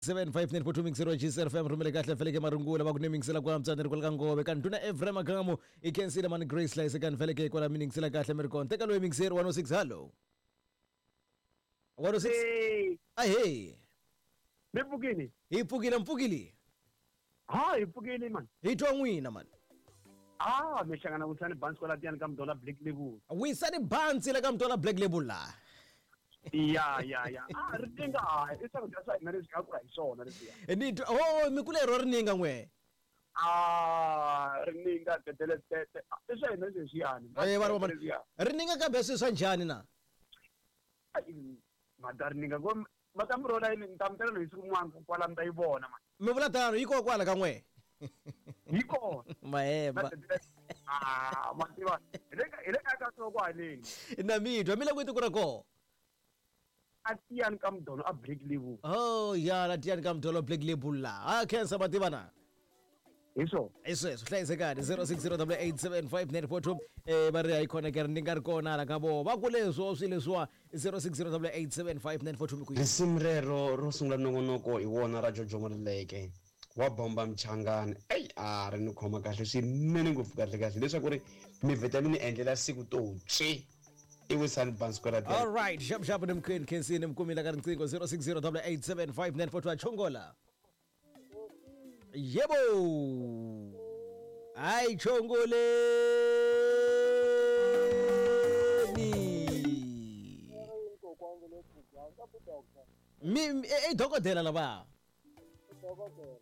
75942 mixero GCR FM rhumele kahle feleke marungula va ku ni mingisela ku antswa ni ri kwala ka ngove ka ndhuna Ephraim Magamu i khensile mani Grace Hlayise ka ni feleke kwala mi ningisela kahle mi ri kona teka loyi mixeri 106 hallo 106 Hey, ahee mi pfukile? Hi pfukile mpfukile. Ha, hi pfukile man. Hi twa n'wina mani. Ah, mi hlangana Wisani Bansi kwala tiyani ka Mdola Black Label. Wisani Bansi la ka Mdola Black Label la. Ya ya ya. Ah, rininga hayi, i swakudya swa hina leswi nga kula hi swona leswiya. Ni twa oh mi kule ro rininga n'we. Ah, rininga tetele tete. I swa hina leswiyani. Eh va ri rininga kambe swi swa njhani na? Mada rininga ngo va ta mi rona yini ni ta mi tela hi siku rin'wana kwala mi ta yi vona man. Mi vula tano yi kona kwala ka n'we. Yi kona. Mahemba. Ah, ma tiva. Hi le ka hi le ka ka soko haleni. Na mi twa mi le ku tiko ra kona. A tiyani ka mudolo a Black Label. Oh ya la tiyani ka mudolo Black Label la. Ah khensa ma tiva na. Hi swona. Hi sweswo hlayisekani 0608875942 eh va ri hayi khona ke ri ni nga ri kona hala ka voho va ku leswo swi leswiwa 0608875942 mi ku Risimu rero ro sungula nongonoko hi wona ra Jojo Maluleke wa bomba Mchangani. Eyi a ri ni khoma kahle swinene ngopfu kahle kahle leswaku ri mi vheta mi ni endlela siku to tswi i Wisani Bansi kwala All right xap xap ni mkhweni khensini mi kumile ka riqingho 0608875942 chongola. Yebo. Hayi chongoleni. Mi i dokodela lava.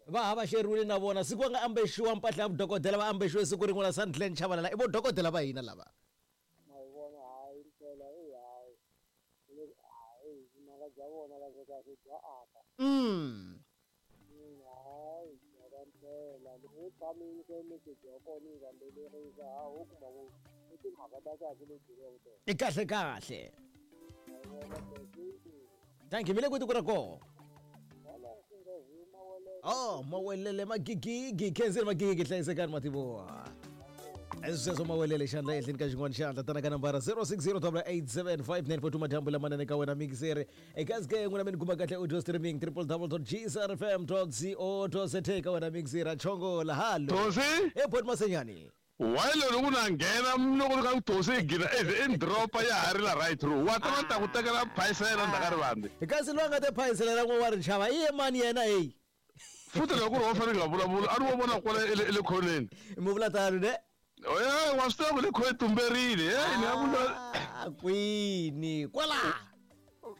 Va ha va xeriwile na vona siku va nga ambexiwa mpahla ya vudokodela va ambexiwe siku rin'we la Sandglen Chabalala i vo dokodela va hina lava. Ma yi vona hayi mpela eyi hayi hayi vunanga bya vona kahle kahle bya aka. Hayi byela mpela loko yo tshama yi nyika message ya kona yi landzelerisa ha ho kuma ku i timhaka ta kahle leti byeriwaka tona. I kahle kahle. Ma yi vona thank you. Thank you mi le kwihi tiko ra koho? Hala Xingezi Mawelele. Oh Mawelele Magigigi khensile Magigigi hlayisekani mativoha. Sweswo Mawelele xandla ehenhleni ka xin'wana xandla tana ka nambara 0608875942 madyambu lamanene ka wena mixeri eka sk n'wina mi ni kuma kahle audio streaming www.gsrfm.co.za ka wena mixeri chongola halo Tosi? e bot masenyani Why loko na nghena loko ni ka ku tosi yi gina i ni dropa ya ha ri la right through wa ta va ta ku tekela phayisela ndzhaku ka rivandi kasi loyi a nga te phayisela ra n'we wa ri xava i ye mani yena heyi futhi loko ku ri wa fanele nga vulavula a ri wo vona kwala e le e le khoneni mi vula tano ne e wa swi tiva ku le khoneni tumberile e ni nga ku Ah, kwini kwala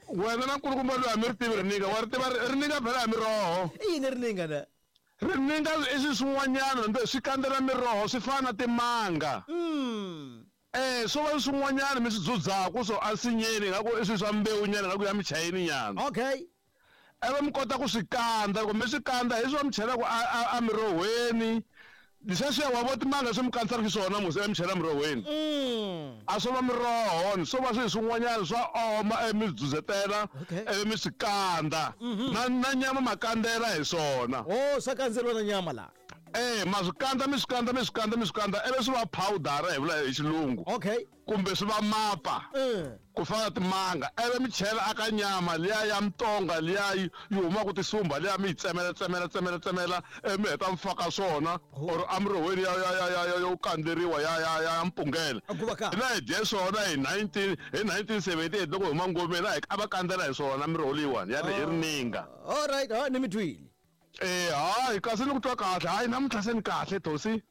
wena na nkulukumba loyi a mi ri tivi rininga wa ri tiva rininga phela ya miroho i yini rininga na rininga i swi swin'wanyana ndze swi kandzela miroho swi fana na timanga eh swo va swin'wanyana mi swi dzudzaku so ensinyeni ingaku i swilo swa mbewu nyana ingaku ya michayini nyana okay ivi mi kota ku swi kandza loko mi swi kandza hi swo mi chelaka a a mirohweni sweswiya wa vo timanga swi mi kandzisaka xiswona musi ivi mi chela mirohweni a swo va miroho ni swo va swilo swin'wanyana swa oma ivi mi swi dzudzetela ivi mi swi kandza na na nyama ma kandzela hi swona o swa kandzeriwa na nyama la eh ma swi kandza mi swi kandza mi swi kandza mi swi kandza ivi swi va powder hi vula hi xilungu okay kumbe swi va mapa ku fana na timanga ivi mi chela aka nyama liya ya mutonga liya yi yi humaka tisumba liya mi yi tsemela tsemela tsemela tsemela ivi mi heta mi faka swona or emirohweni ya ya ya ya ya yo kandzeriwa ya ya ya mpungela hina hi dye swona hi 19 hi 1978 loko hi huma ngomeni a hi a va kandzela hi swona miroho leyiwani ya ri hi rininga all right ha ni mi twile eh hayi kasi ni ku twa kahle hayi namuntlha se ni kahle tosi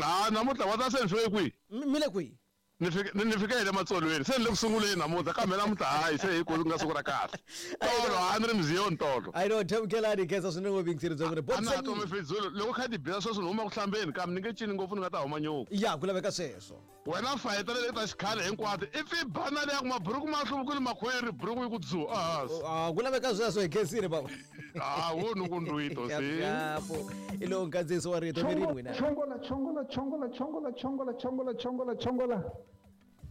ha namuntlha wa ta se ni fike kwihi mi le kwihi ni fike ni fike hi le matsolweni se ni le ku sunguleni namuntlha kambe namuntlha hayi se hi ku nga siku ra kahle tolo a ni ri mziyoni tolo i know thamukelani khensa swinene ngopfu yingiseri bya n'wina a na ha tomi fizulu loko kha ti biza sweswi ni huma ku hlambeni kambe ni nge cini ngopfu ni nga ta huma nyuku ya ku laveka sweswo wena fayetela leti ta xikhale hinkwato i pfi bana leya ku maburuku ma hluvukile makhwiri buruku yi ku dzu ehansi Ah, ku laveka sweswo hi khensile baba ah wo ni ku ndwito si Xapo. I lowu nkandziyiso wa rito mirini n'wina Chongola, chongola, chongola, chongola, chongola, chongola, chongola, chongola.